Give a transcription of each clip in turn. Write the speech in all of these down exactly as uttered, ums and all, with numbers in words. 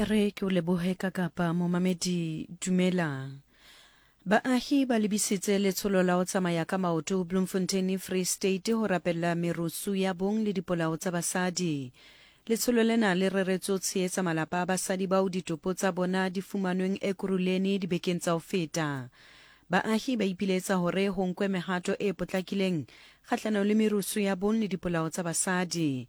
E re ke o lebohe ka kapa momamedi dumela. Baahi ba lebisitse letsholo la ho tsamaya ka maoto Bloemfontein Free State ho rapella merusu ya bong le dipolao tsa basadi. Letsholo lena le reretswe ho tshehetsa malapa a basadi bao ditopo tsa bona di fumanweng Ekurhuleni dibekeng tsa ho feta. Baahi ba ipiletsa hore ho nkwe mehato e potlakileng kgahlanong le merusu ya bong le dipolao tsa basadi.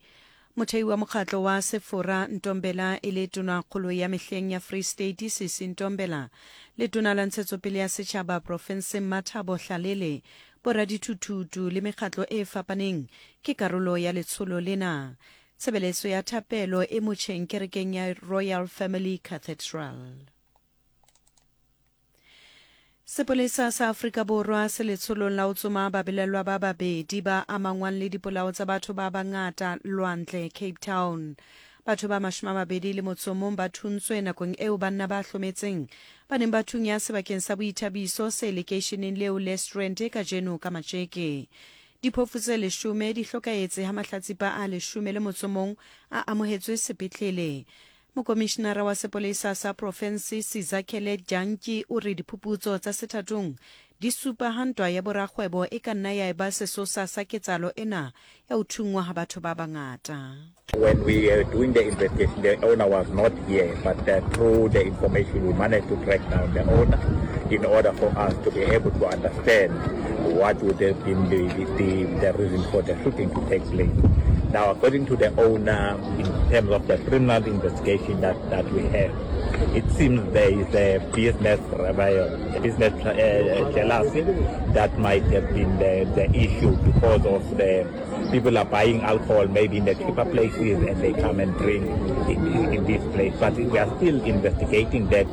Mothei wa mokgatlo wa Sefora Ntombela e le tonakgolo ya mehleng ya Free State Sisi Ntombela le tona la ntshetsopele ya setjhaba profenseng Mathabo Hlalele, boradithuthutu le mekgatlo e fapaneng ke karolo ya letsholo lena. Tshebeletso ya thapelo e motjheng kerekeng ya Royal Family Cathedral. Sepolesa sa Afrika Borwa se letsholong la ho tsoma babelellwa ba babedi ba amangwang le dipolao tsa batho ba bangata Lwandle, Cape Town. Batho ba mashome a mabedi le motso mong ba thuntswe nakong eo banna ba hlometseng ba neng ba thunya sebakeng sa boithabiso se lekeisheneng leo le Strand kajeno ka matjeke. Diphofu tse leshome di hlokahetse ha mahlatsipa a leshome le motso mong a amohetswe sepetlele. Mokomishinara wa sepolesa sa profense Sizakele Dyantyi o re diphuputso tsa sethatong di supa ha ntwa ya borakgwebo e ka nna ya eba sesosa sa ketsahalo ena ya ho thunngwa ha batho ba bangata. When we were doing the investigation, the owner was not here, but uh, through the information we managed to track down the owner in order for us to be able to understand what would have been the, the, the reason for the shooting to take place. Now, according to the owner, in terms of the criminal investigation that, that we have, it seems there is a business rival, a business uh, jealousy that might have been the, the issue because of the people are buying alcohol maybe in the cheaper places and they come and drink in, in, in this place. But we are still investigating that.